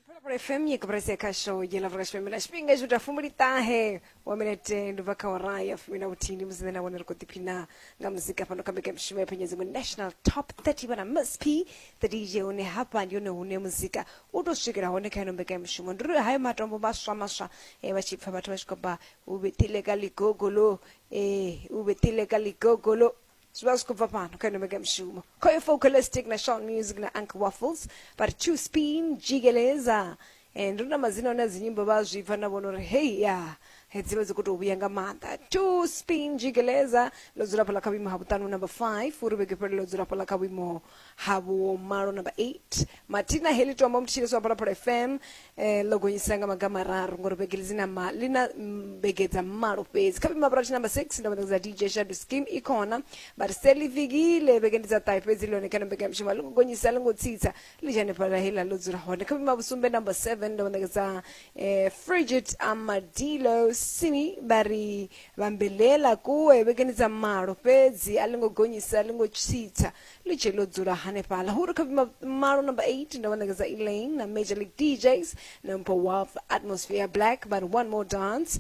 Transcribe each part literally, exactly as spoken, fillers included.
Phalaphala F M yekuprese kasho yela vukashpemela xipinga xo ta fumbili-ṱahe wa minete ndi bva kha awara ya fumi na vhuthihi ndi musi nṋe na vhone ri khou ḓiphina nga muzika fhano kha mbekanyamushumo ya Phenyedzimu National Top thirty vhana Miss P the D J hune hafha ndi hone hune muzika u tou swikela hone kha ino mbekanyamushumo. Ndi uri hayo matombo maswa maswa eh, vha tshi pfa vhathu vha tshi khou bva u vhetile ka ligogolo eh, u vhetile ka ligogolo zwi vha zwi khou bva fhano kha ino mbekanyamushumo. Khoyo Focalistic na Sean Music na Uncle Waffles but two spin jigeleza eh, ndi na madzina one a dzi nyimbo vha zwi pfa na vhona uri hei ya hedzi vha dzi khou tou vhuya nga maanḓa. Two spin jigeleza ḽo dzula fhaḽa kha vhuimo ha vhuṱanu number five, uri vhege fhele ḽo dzula fhaḽa kha vhuimo ha vhumalo number eight. Mathina heḽi tombo mutshilisi wa Phalaphala F M eh, ḽo gonyisa nga maga mararu ngori vhege ḽi na ma, ḽi na vhege dza malo fhedzi. Kha vhuimo ha vhurathi number six ndo vha D J Shadow Scheme i khona vha ri selifikile vhege ndi dza ṱahe fhedzi ḽone kha mbekanyamushumo ḽi ngo gonyisa ḽi ngo tsitsa ḽi dzhane fhaḽa heḽa ḽo dzula hone. Kha vhuimo ha vhusumbe number seven ndo vha ṋekedza eh, Frigid Amadilo Simi vha ri vhambelela kuwe vhegeni dza malo fhedzi a ḽi ngo gonyisa ḽi ngo tsitsa ḽi tshe ḽo dzula hanefhaḽa. Hu ri kha vhuimo malo number eight ndo vha ṋekedza Elaine na Major League D Js na Mpho Wolf Atmosphere Black but one more dance.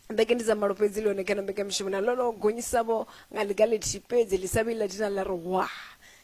Mbeke ndi dza malo fhedzi ḽone kana mbekanyamushumo na ḽo gonyisavho nga ḽiga ḽithihi fhedzi ḽi sa vhi ḽa thina ḽa ri wa.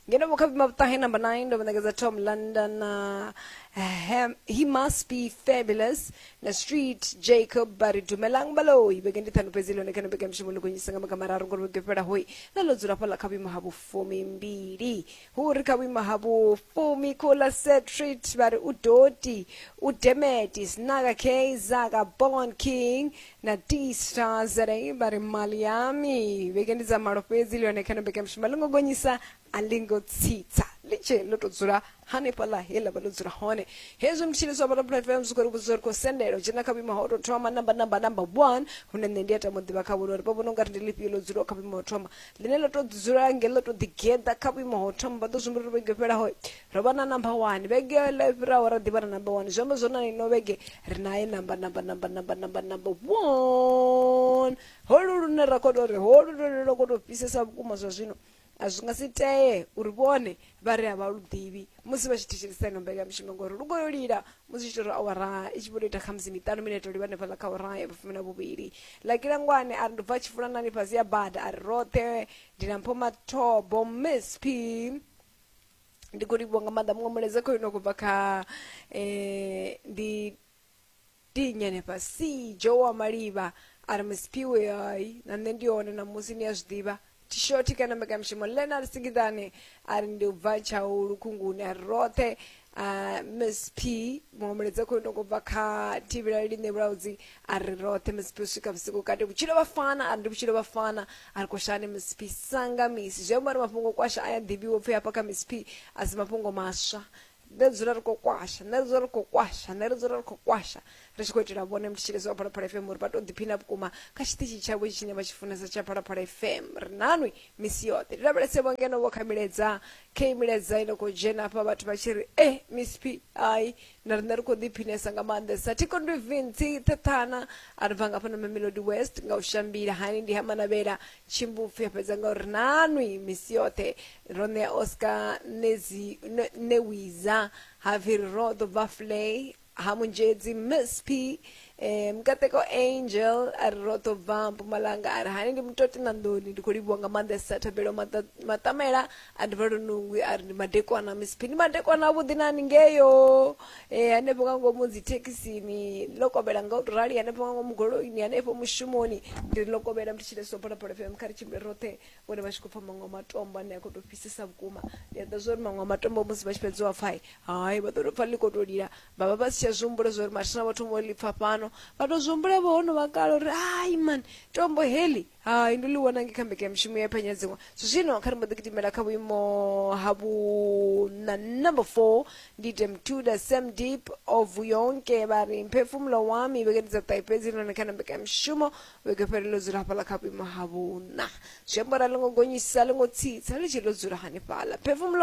Ngeno vho kha vhuimo ha vhuṱahe number nine ndo vha ṋekedza Tom London na uh, He Must Be Fabulous na Street Jacob vha ri dumelang baloi vhege ndi ṱhanu fhedzi ḽone kana mbekanyamushumo ḽi gonyisa nga maga mararu ngori vhege fhela hoi na ḽo dzula fhaḽa kha vhuimo ha vhufumimbili. Hu ri kha vhuimo ha vhufumi Kula Setrit vha ri udoti udemeti Snaga K Zaga Born King na D Star Z A vha ri mali yami vhege ndi dza malo fhedzi ḽone kana mbekanyamushumo ḽi ngo gonyisa a ḽi ngo tsitsa ḽi tshe ḽo tou dzula hanefhaḽa he ḽa vha ḽo dzula hone. Hezwi mutshilisi wa Phalaphala F M zwi khou ri vhudza uri khou sendela u dzhena kha vhuimo ha u tou thoma namba namba namba one hune nṋe ndi a tama u ḓivha kha vhone uri vha vhona ungari ndi ḽifhio ḽo dzulaho kha vhuimo ha u thoma ḽine ḽo tou dzula nge ḽo tou ḓigeḓa kha vhuimo ha u thoma. Vha ḓo zwi humbula uri vhege fhelaho ro vha na namba one, vhege ḽo fhiraho ra ḓivha na namba one, zwi amba zwone ino vhege ri naye namba namba namba namba namba namba one. Holu lune ra khou tou ri holu lune lwo khou tou fhisesa vhukuma zwa zwino a zwi nga si tee uri vhone vha ri a vha lu ḓivhi musi vha tshi thetshelesa ino mbekanyamushumo ngori lu khou yo lila musi tshi tou ri awara i tshi vho tou ita khamusi miṱanu minete livha hanefhaḽa kha awara ya vhufumi na vhuvhili. Lakilangwane a ri ndo bva tshifulanani fhasi ya bada a ri roṱhe ndi na Mpho Mathobo Miss P ndi khou livhuwa nga maanḓa. Muṅwe mulaedza khoyu no khou bva kha eh, ndi dinya hanefha C Joe wa Maliva a ri Miss P we hai na nṋe ndi hone namusi ni a zwi ḓivha tshoti kana mbekanyamushumo. Leonard Singidane a ri ndi u bva Tshaulu Khunguni a ri roṱhe uh, Miss P. Muṅwe mulaedza khoyu no khou bva kha Thivhela Line Vhulaudzi a ri roṱhe Miss P u swika vhusiku kati vhutshilo vha fana a ri ndi vhutshilo vha fana a ri koshani Miss P sanga misi zwi amba uri mafhungo kwasha a ya ḓivhiwa pfhi hafha kha Miss P a si mafhungo maswa. Nṋe dzula ri khou kwasha, nṋe dzula ri khou kwasha, nṋe ri dzula ri khou kwasha ri tshi khou itela vhone mutshilisi wa Phalaphala F M uri vha tou ḓiphina vhukuma kha tshiṱitshi tshavho tshine vha tshi funesa tsha Phalaphala F M. Ri nanwi misi yoṱhe ndi lavhelese vho ngeno vho kha milaedza khe milaedza ino khou dzhena hafha vhathu vha tshi ri eh Miss P hai na riṋe ri khou ḓiphinesa nga maanḓesa. Thikondwi Vinci Thathana a ri bva nga fhano Mamelodi West nga u shambila hani ndi ha Manavhela Tshimbupfi a fhedza nga uri nanwi misi yoṱhe. Ro ṋea Oscar Nezi Newiza Havir Rodo Bafley ha Munjedzi Miss P eh, Mkateko Angel a ri roṱo bva Mpumalanga a ri hani ndi mutoti na nḓoni ndi khou livhuwa nga maanḓesa. Thabelo Matamela a ndi bva Lunungwi a ri ndi madekwana Miss P ndi madekwana avhuḓi nani ngeyo eh, hanefho nga ngomu dzi thekhisini ḽo kovhela nga u tou rali hanefho nga ngomu goloini hanefho mushumoni ndi ri ḽo kovhela mutshilesi wa Phalaphala F M kha ri tshimbile roṱhe vhone vha tshi khou pfa maṅwe matombo ane a khou tou fhisesa vhukuma. Ndi a ḓa zwa uri maṅwe matombo musi vha tshi fhedza u pfa hai vha ḓo tou pfa ḽi khou tou lila vha vha vha si tsha zwi humbula zwa uri mathina vha thoma u ḽi pfa fhano vha tou zwi humbula vho hono vha kale uri hai man tombo heḽi hai ndo ḽi wana nge kha mbekanyamushumo ya Phanyadziṅwa. Zwino kha ri mbo ḓi gidimela kha vhuimo ha vhuṋa number four ndi Demtuda Sam Deep of Yonke vha ri mphefumulo wami vhege ndi dza ṱahe fhedzi ḽone kha mbekanyamushumo vhege fhele ḽo dzula hafhaḽa kha vhuimo ha vhuṋa. Zwi amba uri a ḽo ngo gonyisa ḽo ngo tsitsa ḽi tshi ḽo dzula hanefhaḽa mphefumulo